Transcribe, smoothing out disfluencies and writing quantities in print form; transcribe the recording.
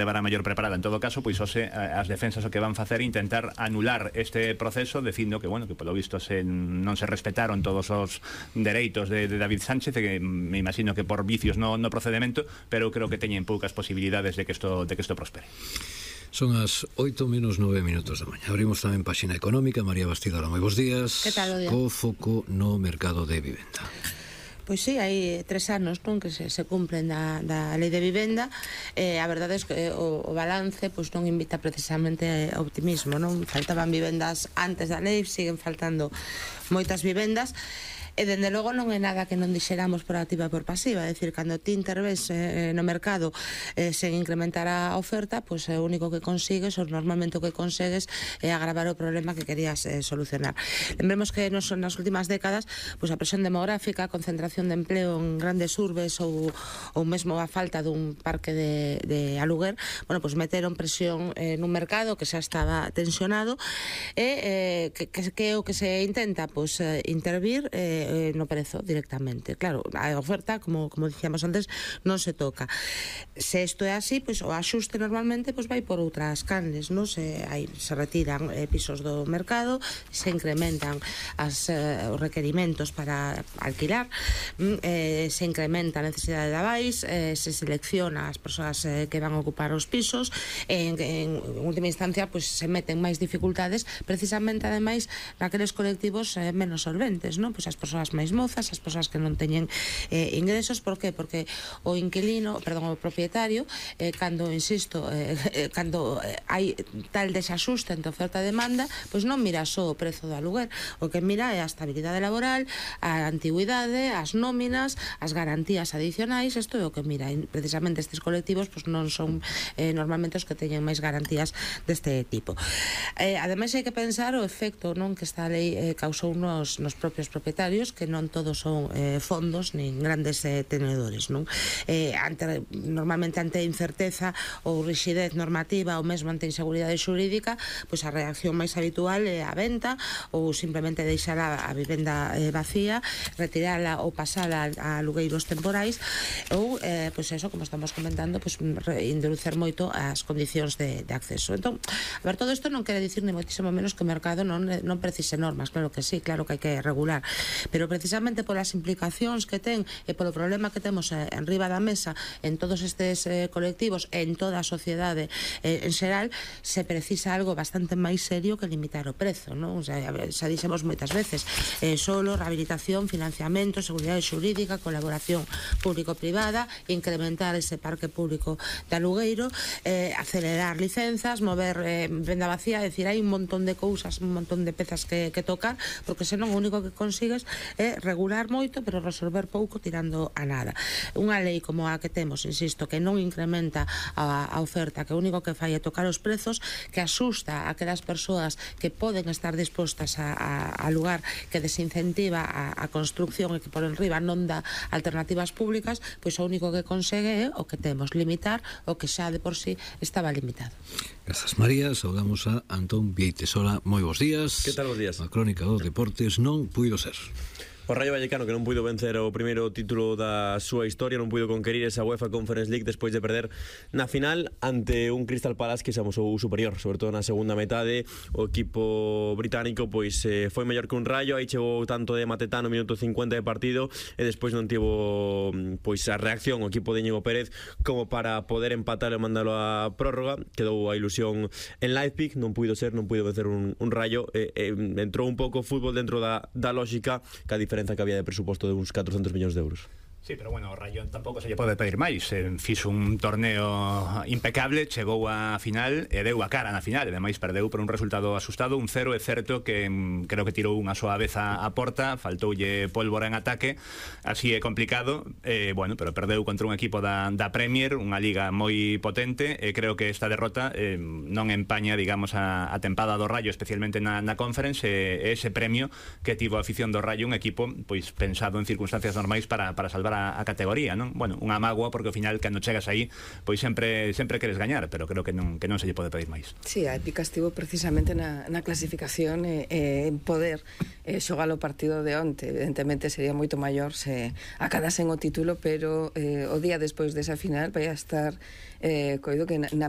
levará mellor preparada. En todo caso, pois hoxe as defensas o que van facer é intentar anular este proceso, dicindo que, bueno, que polo visto non se respetaron todos os dereitos de David Sánchez, que me imagino que por vicios no procedimento, pero creo que teñen poucas posibilidades de que isto prospere. Son as 8:09 da mañá. Abrimos tamén páxina económica. María Bastidora, moi bons días. Que tal o día? Co foco no mercado de vivenda. Pois sí, hai 3 anos que se cumplen da lei de vivenda. A verdade é que o balance non invita precisamente ao optimismo, non? Faltaban vivendas antes da lei, siguen faltando moitas vivendas. E dende logo non é nada que non dixeramos por activa e por pasiva, é dicir, cando ti interves no mercado sen incrementar a oferta, pois o único que consigues, ou normalmente o que consegues, é agravar o problema que querías solucionar. Lembremos que nas últimas décadas, pois a presión demográfica, a concentración de empleo en grandes urbes ou mesmo a falta dun parque de aluguer, bueno, pois meteron presión nun mercado que xa estaba tensionado e que o que se intenta, pois intervir no prezo directamente. Claro, a oferta, como dicíamos antes, non se toca. Se isto é así, pois o axuste normalmente pois vai por outras canles, non? Se retiran pisos do mercado, se incrementan os requerimentos para alquilar, se incrementa a necesidade de avais, se selecciona as persoas que van a ocupar os pisos, en última instancia pois se meten máis dificultades precisamente ademais naqueles colectivos menos solventes, non? Pois as persoas máis mozas, as persoas que non teñen ingresos. Por qué? Porque o propietario, cando hai tal desaxuste entre oferta e demanda, pois non mira só o prezo do aluguer, o que mira é a estabilidade laboral, a antigüidade, as nóminas, as garantías adicionais. Isto é o que mira. Precisamente estes colectivos pois non son normalmente os que teñen máis garantías deste tipo. Ademais hai que pensar o efecto, non, que esta lei causou nos propios propietarios, que non todos son fondos nin grandes tenedores, non? Normalmente ante a incerteza ou rigidez normativa ou mesmo ante a inseguridade xurídica, pois a reacción máis habitual é a venta ou simplemente deixar a vivenda vacía, retirala ou pasala a alugueiros temporais ou, pois eso, como estamos comentando, pois introducer moito as condicións de acceso. Entón, a ver, todo isto non quere dicir ni moitísimo menos que o mercado non precise normas, claro que sí, claro que hai que regular, pero precisamente polas implicacións que ten e polo problema que temos en riba da mesa en todos estes colectivos, en toda a sociedade en xeral, se precisa algo bastante máis serio que limitar o prezo, non? O sea, xa dixemos moitas veces, solo rehabilitación, financiamento, seguridade xurídica, colaboración público-privada, incrementar ese parque público de alugueiro, acelerar licenzas, mover venda vacía, é dicir, hai un montón de cousas, un montón de pezas que tocar, porque senón o único que consigues é regular moito pero resolver pouco tirando a nada. Unha lei como a que temos, insisto, que non incrementa a oferta, que o único que fai é tocar os prezos, que asusta a aquelas persoas que poden estar dispostas a lugar, que desincentiva a construcción e que por enriba non dá alternativas públicas, pois o único que consegue é o que temos, limitar o que xa de por sí estaba limitado. Grazas, María. Saudamos a Antón Vieites. Hola, moi bons días. Que tal, bons días? A crónica dos deportes non puido ser. O Rayo Vallecano, que non puido vencer o primeiro título da súa historia, non puido conquerir esa UEFA Conference League despois de perder na final ante un Crystal Palace que se amosou superior, sobre todo na segunda metade. O equipo británico pois foi mellor que un Rayo, aí chegou tanto de Mateta no minuto 50 de partido e despois non tivo pois a reacción o equipo de Íñigo Pérez como para poder empatar e mandalo a prórroga. Quedou a ilusión en Leipzig, non puido vencer un Rayo. Entrou un pouco o fútbol dentro da lógica, que a diferencia que había de presuposto de uns 400 millóns de euros. Sí, pero bueno, o Rayo tampouco se lle pode pedir máis. Fixo un torneo impecable, chegou á final e deu a cara na final, e ademais perdeu por un resultado asustado, 1-0. É certo que creo que tirou unha soa vez a porta, faltoulle pólvora en ataque, así é complicado, bueno, pero perdeu contra un equipo da Premier, unha liga moi potente, e creo que esta derrota non empaña, digamos, a tempada do Rayo, especialmente na Conference, e ese premio que tivo a afición do Rayo, un equipo pois pensado en circunstancias normais para salvar a categoría, non? Bueno, unha mágoa porque ao final cando chegas aí, pois sempre queres gañar, pero creo que non se lle pode pedir máis. Sí, a épica estivo precisamente na clasificación en poder xogar o partido de onte. Evidentemente sería moito maior se acadasen o título, pero o día despois desa final vai a estar coido que na